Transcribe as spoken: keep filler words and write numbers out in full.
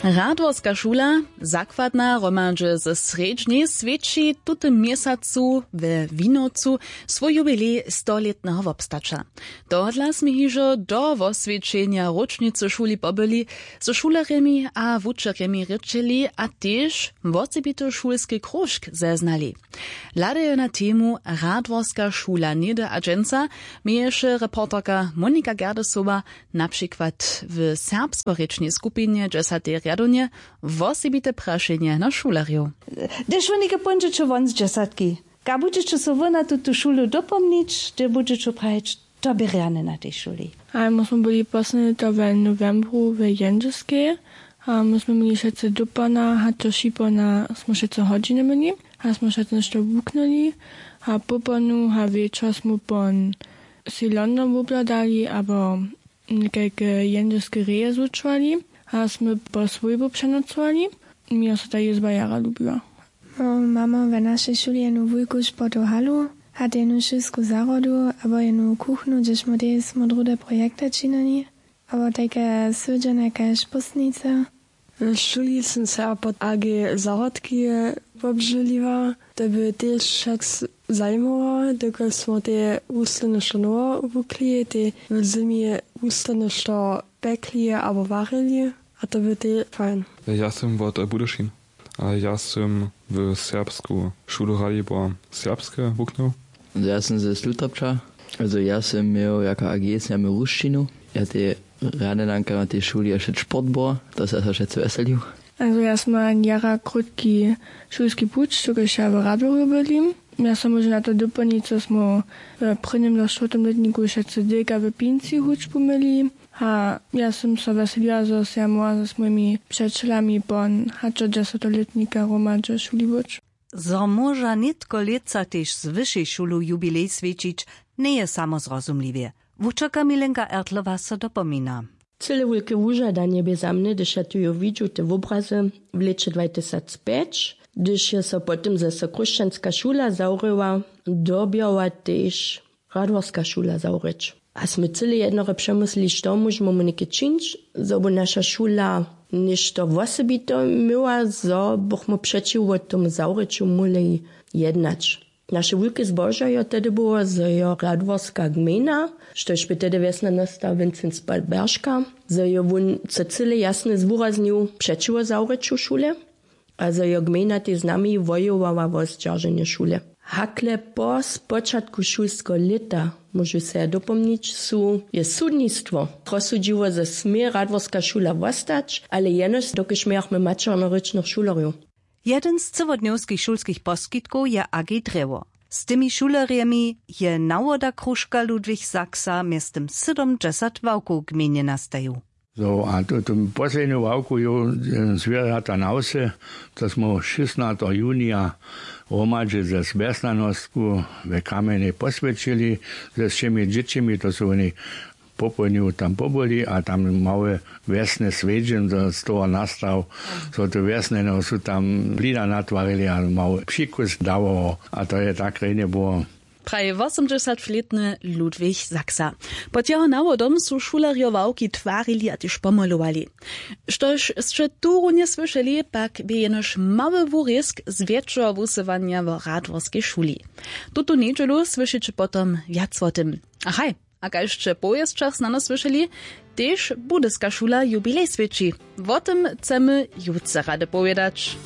Radworska šula, zakładna hromadźe ze srjedźnej, swjeći w tutym měsacu we Winowcu swój jubilej stolětneho wobstaća. Tohodla smy hižo do woswjećenja róčnicy šuli pobyli, ze šulerjemi a wučerjemi rěčeli a tež wosebity šulski króžk zeznali. Hladajo na temu Radworska šula něhdy a dźensa, měješe reporterka Monika Gerdesowa na přikład w serbskorěčnej skupinje dźesatej rjadownje wosebite prašenje na šulerjow. Hdyž wónike póńdźeće won z dźesatki, kak budźeće so wy na tutu šulu dopomnić, hdy budźeće prajić, to bě rjane na tej šuli? A my smy byli poslednje to w nowembru w Jendźelskej. A my smy měli wšetcy dopona, hač do šipona smy wšetcy hodźiny měli. A smy wšetcy něšto wuknyli. A poponu a wječor smy pon sej London wobhladali abo někajke jendźelske reje zwučowali. A smy po swójbu přenocowali. Mnje so ta jězba jara lubiła. Mamy w našej šuli jednu wulku sportow halu, a jednu šulsku zahrodu abo jednu kuchnu, hdźež móhli smy druhde projekty činili, abo tajke sydźenje kaž póstnice. W šuli sym se pod ag zahrodki wobželiła. To by tež wšak zajimowało, dokelž smy te wuslowne što nowe wukli, te w zymje wuslowne što pekli abo warili. A to by te fajn. Ja sym wot Budyšin. A ja sym w serbsku šulu Ralibor Serbske wuknył. Ja sym ze Slutopča. Also ja sym měł jako ag smy měł rušćinu. Ja te rjane danka na tej šuli a wšet sport było, to se so wšetcy wjeselił. Also ja sym měł jara krótki šulski puć, dokelž ja w Radworju byli. Ja so móžu na to dopolnić, zo smy w prěnim do štwórtim lětniku wšetcy dylka w pinci hudźbu měli. A ja sym so wjeseliła, zo sym ja móhła z swójimi přećelami pon hač do dźesatolětnika hromadźe šuli być. Zo móža nětko lětsa tež z wyšej šulu jubilej swjećić, njeje samo zrozumliwje. Wučerka Milenka Ertlowa so dopomina. Cyle wulke wužadanje bě za mnje, hdyž ja tu jo widźu te wobrazy w lěće dwatysacpjeć, hdyž je so potom zaso chróšćanska šula zawrěła, dyrbjała tež Radworska šula zawrěć. A smy cyle jednore přemyslili, što móžemy my něke čińć, zo by naša šula něšto wosebite měła, zo bychmy přećiwo tomu zawrěću móhli jednać. Naše wulke zbožo jo tehdy było, zo jo Radworska gmejna, štož bě tehdy wjesnjanosta Wincenc Berška, zo jo wón so cyle jasnje zwuraznił přećiwo zawrěću šule. A zo jo gmejna tež z nami wojowała wo zdźerženje šule. Hakle po spočatku šulskeho lěta, móžu so ja dopomnić, su je sudnistwo rozsudźiło, zo smě Radworska šula wostać, ale jenož dokelž mějachmy maćernorěčnych šulerjow. Jedyn z cyłodnjowskich šulskich poskitkow je A G Drjewo. Z tymi šulerjemi je nawoda króžka Ludwig Sachsa mjeztym sydomdźesat ławkow w gmejnje nastajił. Zo a to tu poslednju ławku jo zwěrjata na wsy, to smy šěsnateho junija hromadźe ze wjesnjanostku we Kamjenjej poswjećili, ze wšěmi dźěćimi, to su woni popołdnju tam pobyli a tam małe wjesne swjedźeń z toho nastał. So tu wjesnjeno su tam blida natwarili a mały přikus dawało, a to je tak rjenje było. Praji wosomdźesatlětny Ludwig Sachsa. Pod jeho nawodom su šulerjo ławki twarili a tež pomolowali. Štož sće tu runje słyšeli, pak bě jenož mały wurězk z wjetšeho wusyłanja wo Radworskej šuli. Tutu njedźelu słyšiće potom wjac wo tym. A haj, a kaž sće w powěsćach snano słyšeli, tež budyska šula jubilej swjeći. Wo tym chcemy jutře rady powědać.